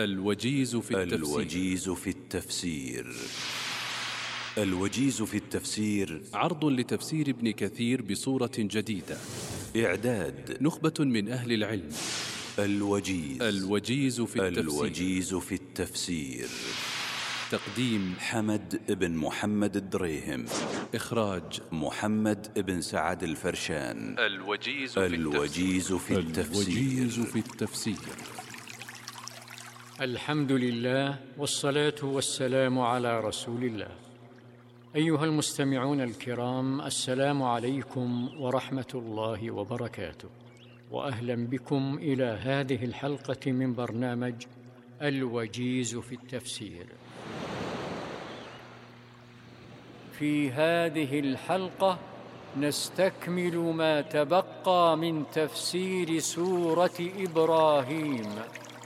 الوجيز في التفسير. الوجيز في التفسير. الوجيز في التفسير عرض لتفسير ابن كثير بصورة جديدة. إعداد نخبة من أهل العلم. الوجيز. الوجيز في التفسير. الوجيز في التفسير. تقديم حمد بن محمد الدريهم. إخراج محمد بن سعد الفرشان. الوجيز في التفسير. الوجيز في التفسير. الحمد لله والصلاة والسلام على رسول الله. أيها المستمعون الكرام، السلام عليكم ورحمة الله وبركاته، وأهلا بكم إلى هذه الحلقة من برنامج الوجيز في التفسير. في هذه الحلقة نستكمل ما تبقى من تفسير سورة إبراهيم.